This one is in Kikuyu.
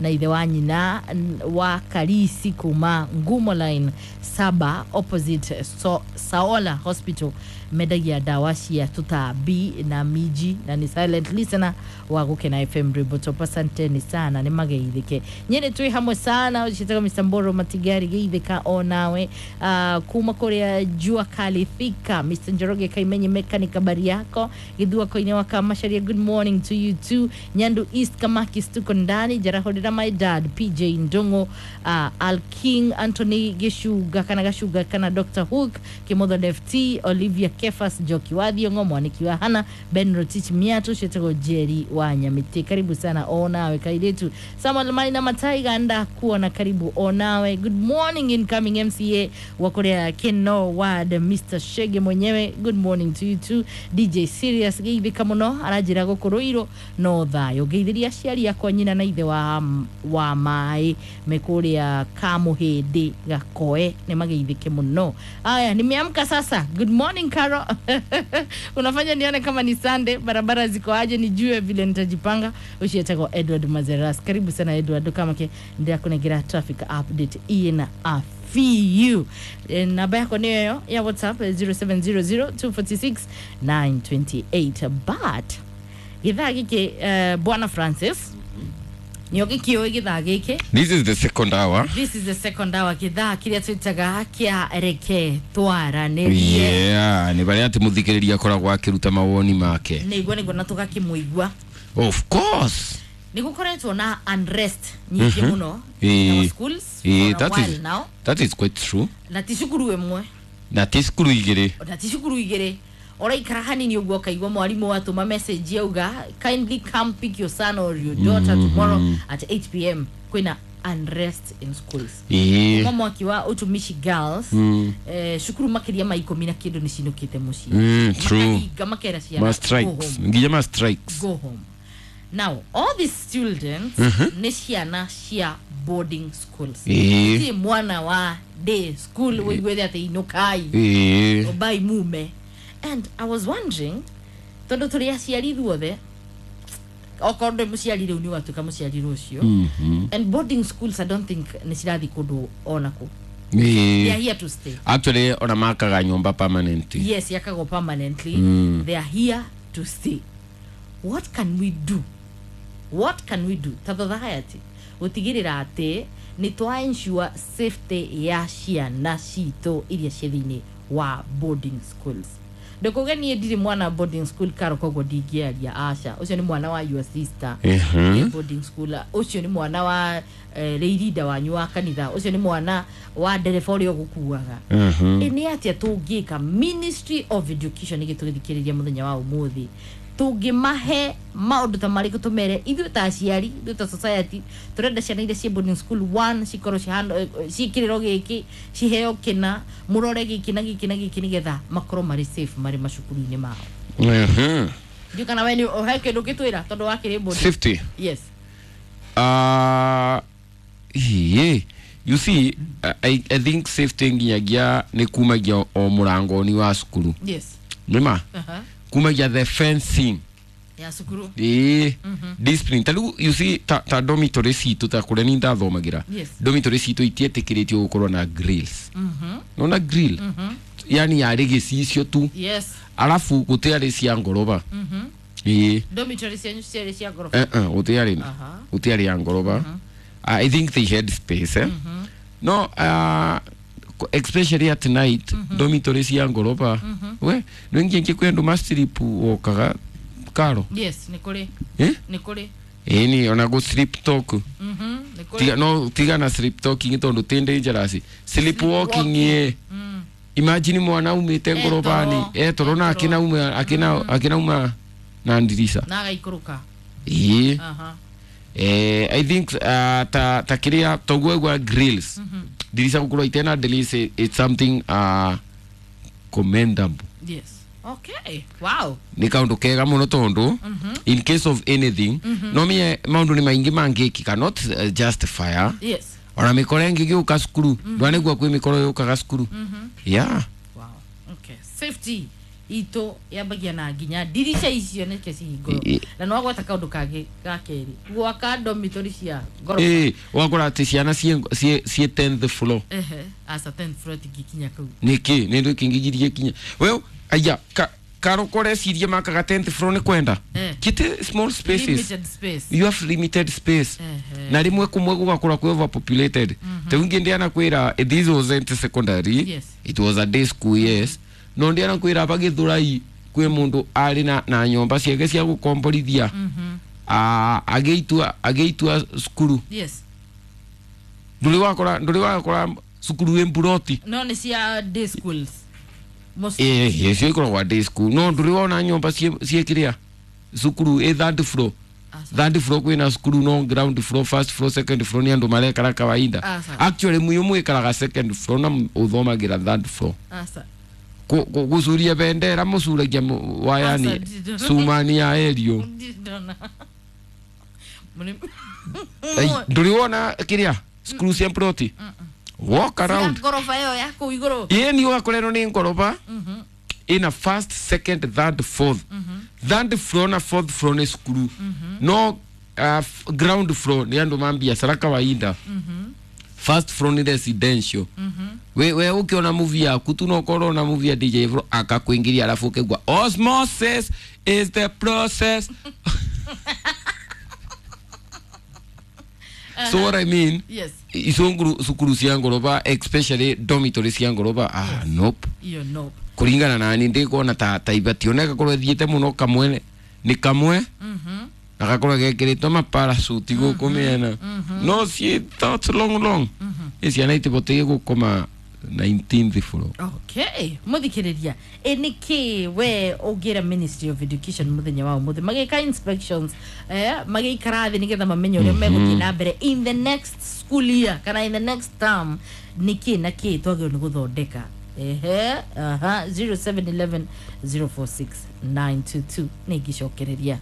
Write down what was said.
na ithe wa nyina wa Karisi kuma Ngumo Line 7 opposite Saola Hospital, mendagia ndawa cia tũtambi na minji, na nĩ silent listener wa Gũkena FM Rwĩmbo Top. Asanteni sana, nĩ mageithĩke nyene, twĩ hamwe sana. Ũcĩtaga Mr. Mboro Matigari, geithĩka onawe. Kuma kũrĩa Jua Kali Thika, Mr. Njoroge Kaimenyi mechanic, habari yako? Githuako-inĩ wa Kamacharia, good morning to you too. Nyandu East Kamakis, tuko ndani. Jarahũrĩra my dad PJ Ndongo, Al King Anthony Gĩcunga kana Gacunga kana Dr. Hook Kimotho, Left Olivia Kefas, Njoki wa Thiongo, Mwaniki wa Hana Ben Rotich Miatu, ciĩtagwo Jerry wa Nyamĩtĩ, karibu sana onawe. Kairĩtu Samuel Maina Mataiga ndakuona, karibu onawe. Good morning, incoming MCA wa kũrĩa Keno Ward, Mr. Shege mwenyewe, good morning to you too. DJ Serious, geithĩka mũno, aranjĩra gũkũ Rũirũ no thayũ. Ngeithĩria aciari akwa, nyina na ithe wa maĩ me kũrĩa Kamũhĩndĩ Gakoe, nĩ mageithĩke mũno. Aya, nimeamka sasa. Good morning Caro, unafanya nione kama ni Sunday. Barabara ziko aje nijue vile nitajipanga? Ucietagwo Edward Mazeras, karibu sana Edward, kamake ndirakunengera traffic update ina a few. Namba yako niyo yo ya WhatsApp, 0700 246 928. But githaa giki, bwana Francis, nio gĩkĩũĩ gĩthaa gĩkĩ. This is the second hour. This is the second hour, gĩthaa kĩrĩa twĩtaga kĩa reke twaranĩrie. Yeah, nĩ barĩa atĩ mũthikĩrĩria akoragwo akĩruta mawoni make. Nĩguo na tũgakĩmũigua. Of course. Nĩ gũkoretwo na unrest nyingĩ mũno in our schools for a that while is now. That is quite true. Na ti cukuru ĩmwe. Na ti cukuru igĩrĩ. Na ti cukuru igĩrĩ. Ũraikara hanini ũguo ũkaigua mwarimũ atũma message auga, "Kindly come pick your son or your daughter tomorrow at 8 p.m., kwĩna unrest in schools." Kuma mwaki wa Utumishi Girls, cukuru makĩria ma 10 na kĩndũ nĩ cinũkĩte mũciĩ. True. Makahinga, makera ciana, Ma "Go strikes. home." Nginya ma strikes. Go home. Now all these students nĩ ciana cia boarding schools. Ti mwana wa day school wĩiguĩte atĩ inũkai obai mume. And I was wondering, tondũ tũrĩ aciari ithuothe, okorwo ndĩ mũciari rĩu, nĩ ũgatuĩka mũciari rũciũ. And boarding schools, I don't think nĩ cirathiĩ kũndũ onakũ. They are here to stay. Actually, ona makaga nyũmba permanent. Yes, yakagwo permanently. They are here to stay. What can we do? What can we do ta society gũtigĩrĩra atĩ nĩ twa ensure safety ya ciana citũ iria ciĩ thĩinĩ wa boarding schools? Ndũkuge niĩ ndirĩ mwana boarding school, Karo, koguo ndingĩaria. Aca, ũcio nĩ mwana wa your sister wĩ boarding school, ũcio nĩ mwana wa rĩirinda wanyu wa kanitha, ũcio nĩ mwana wa ndereba ũrĩa ũgũkuaga. Ĩ nĩ atĩa tũngĩka, Ministry of Education ĩgĩtũthikĩrĩria mũthenya wa ũmũthĩ, tũngĩmahe maũndũ ta marĩkũ, tũmere ithuĩ ta aciari, ithuĩ ta society, tũrenda ciana iria ciĩ boarding school one cikorwo ciĩkĩrĩrwo gĩkĩ, ciheo kĩna, mũrore gĩkĩ na gĩkĩ na gĩkĩ, nĩgetha makorwo marĩ safe marĩ macukuru-inĩ mao? Ndiũ kana we nĩ he kĩndũ ũngĩtwĩra tondũ wakĩrĩ boarding. Safety. Yes. Yeah. You see, I think safety nginyagia nĩ kumagia o mũrango-inĩ wa cukuru. Nĩma? Kumagia the fencing. Ya cukuru. Ĩĩ, discipline. Ta rĩu, you see, ta dormitory citũ, ta kũrĩa ni ndathomagĩra, dormitory citũ itietĩkĩrĩtio gũkorwo na grills. Nona grill, yani yarĩ gĩcicio tu. Arabu gũtiarĩ cia ngoroba. Ĩĩ. Dormitory cianyu ciarĩ cia ngoroba? Eh, eh, gũtiarĩ na gũtiarĩ ya ngoroba. I think they had space, eh? No, especially at night, dormitory cia ngoroba, we nĩ kwĩ andũ ma sleep wokaga, Karo. Yes, nĩ kũrĩ. Eh? Nĩ kũrĩ. Ĩni ona go sleep talk. Nĩ kũrĩ. Tiga, no tiga na sleep talking tondu ti dangerous sleep walking. Ye, imagine mwana umite ngorobani etoro na akinauma akinauma na ndirica. Na agaikũrũka. Ĩĩ. I think ta kiria toguo gwa grills, ndirica gukorwo itena ndirica, it's something commendable. Yes, okay, wow. Nä kaundu kega muno tondu in case of anything, no mie maundu nä maingä mangäkika, not just fire. Ona mikoro ĩngĩ gĩũka cukuru, ndwanĩgua kwĩ mikoro yũkaga cukuru, yeah. Wow, okay, safety Itũ yambagia na nginya ndirica icio nĩkĩo cihingũrwo. Na nĩ wagweta kaũndũ kangĩ ga kerĩ, gwaka dormitory cia ngoroba. Ĩ wakora atĩ ciana ciĩ 10th floor. Ehe, aca, 10th floor tingĩkinya kũu. Nĩkĩ nĩ ndũ kĩngĩgirie kinya well aya karoko recirie makaga 10th floor nĩ kwenda kite small spaces. Limited space. You have limited space. Na rimwe kumwe gugakora kwi overpopulated. Ta ungi ndiana kwira, this wasn't secondary. It was a day school, yes, no ndiana kwira bagithurai kwi mundu ari na nyomba ciake cia gukomborithia. Ah, agĩitua cukuru. Ndũrĩ wakora cukuru ĩ mburoti? No nĩ cia day schools. Most. Ĩ cio ikoragwo day school, no ndũrĩ wona nyomba ciĩ kĩrĩa cukuru ĩ third floor? Aca. Third floor kwĩna cukuru, no ground floor, first floor, second floor nĩ andũ marekara kawaida. Aca. Actually muyo mwĩkaraga second floor na ũthomagĩra third floor. Aca. Gũcuria bendera mũcuragia wayani. Aca, ndindona. Cumani ya erio. Ndindona. Ndũrĩ wona kĩrĩa cukuru cia ploti walk around? Cia ngoroba ĩyo ya kũu igũrũ. Ĩĩ, ni ũgakora ĩno nĩ ngoroba ĩna first, second, third, fourth. Third floor na fourth floor nĩ cukuru, no ground floor nĩ andũ ma biacara kawaida. First floor nĩ residential. We ukiona movie yaku tu no korwo na movie ya DJ Fro akakuingiria alafu ukigwa osmosis is the process. So what I mean, icio cukuru cia ngoroba, especially dormitory cia ngoroba, ah, nope. Iyo no. Kuringana na ni ndikuona ta ibati ona gakorwo thiete muno kamwe ni kamwe na gakorwo gekiritwo maparasuti guku miena no ciĩ thoughts long long ĩ ciana itibatiĩ gũkoma 19th floor. Okay, muthikiriria, ĩ nĩkĩ we ũngĩra Ministry of Education mũthenya wa ũmũthĩ magĩka inspections, magĩikara thĩ nĩgetha mamenye ũrĩa megũthiĩ na mbere in the next school year kana in the next term, nĩkĩ na kĩ twagĩrĩirwo nĩ gũthondeka? Ehe, aha, 0711 046 922 nĩ ingĩcokereria.